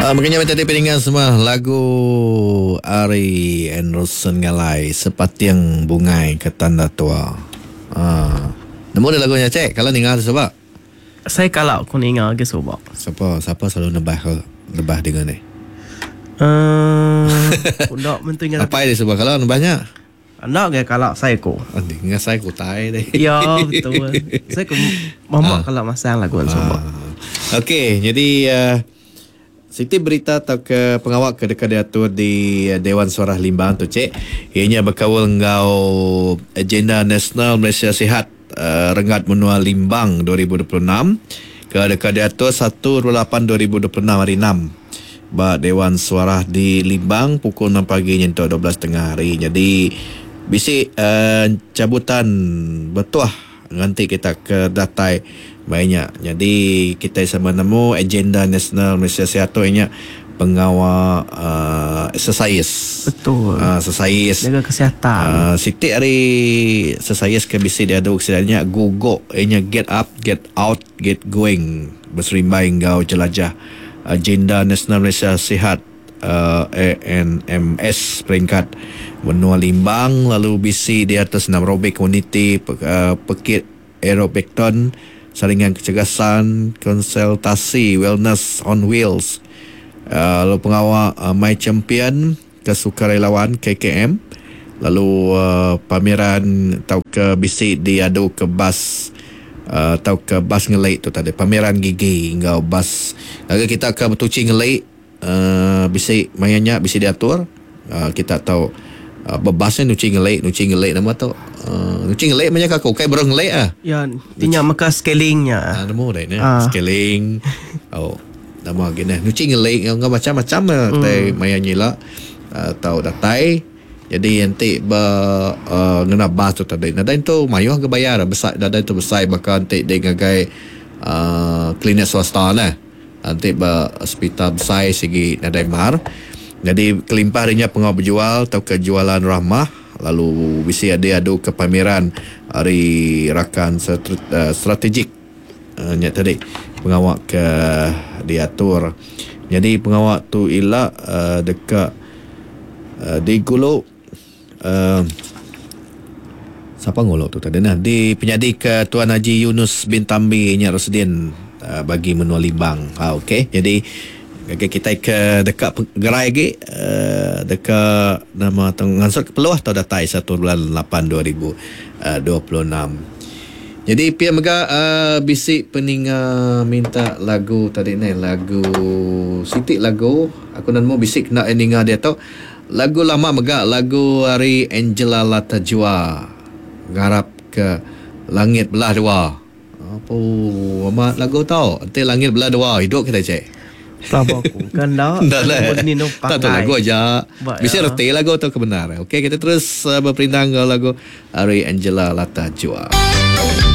Mega nya tadi peninga semua lagu ari Anderson Ngalai Sepating Bungai ke Tanda Tua. Ah. Nemu dah lagu nya cek kalau ninga tu suba. Saya kala ku ninga agi suba. Sapa sapa selalu nebah ke nebah dinga ni? Uh, enda mentu ingat. Apai dia suba kala nebah nya. Enda ga kala sai ku. Ngasai ku utai deh. Ya betul. Sai ku mama kala masang lagu suba. Ah. Okey, jadi uh, siti berita tauka pengawa ke deka diatur di Dewan Suarah Limbang tu cik, iya nya bekaul enggau Agenda Nasional Malaysia Sihat uh, Renggat Menua Limbang 2026 ke deka diatur 1 8 2026 hari 6 ba Dewan Suarah di Limbang pukul 6 pagi nyentuk 12 tengah hari. Jadi bisi uh, cabutan betuah nganti kita ke datai maya nya. Nyadi kitai sama nemu agenda nasional Malaysia Sihat tu iya nya pengawa uh, exercise. Betul. Exercise. Jaga kesihatan. Siti ari exercise ke bisi diadu ke sida nya gugok iya nya get up, get out, get going beserimbai enggau jelajah agenda nasional Malaysia Sihat ANMS peringkat menua Limbang lalu bisi diatur senam aerobik komuniti pekit aerobikton saringan kecergasan konsultasi wellness on wheels lalu pengawa My Champion Kesukarelawan KKM lalu pameran tauka bisi diadu ke bas tauka bas ngeli tu tadi pameran gigi enggau bas ngagai kita ke betuchi ngeli. Bisi maya nya bisi diatur kita tau bebas nya nuchi ngeli nuchi ngeli nama tu nuchi ngeli meh nya ka aku ukai baruh ngeli ah. Ya ti nya meka scaling nya. Nemu deh nya scaling au nama agi neh nuchi ngeli enggau macam macam tai maya nya ila tau datai jadi enti ba ngena bas tu tadi nadai entu mayuh ga bayar besai nadai entu besai baka enti deh ngagai klinik swasta neh. Enti ba sepital besai sigi nadai mar. Nyadi kelimpah ari nya pengawa bejual tauka jualan rahmah lalu bisi adi adu ke pameran ari rakan strategik nya tadi pengawa ke diatur. Nyadi pengawa tu ila deka digulu. Sapa ngulu tu tadi nah di penyadi ke Tuan Haji Yunus bin Tambi nya Residen bagi menua Limbang. Ha okey. Jadi ngagai kitai ke deka gerai agi deka nama tu ngansut ke peluh tau datai satu bulan lapan 2026. Jadi pia mega bisi peninga minta lagu tadi neh lagu siti lagu aku nemu bisi kena ninga diatu. Lagu lama mega lagu ari Angela Lata Jua ngarap ke langit belah dua. Apu amat lagu tu enti langit belah dua idup kitai cik. Pelaba aku ke enda. Enda leh. Tak tu lagu aja. Bisi reti lagu tu ke bendar. Okey kita terus beperindang enggau lagu ari Angela Lata Jua.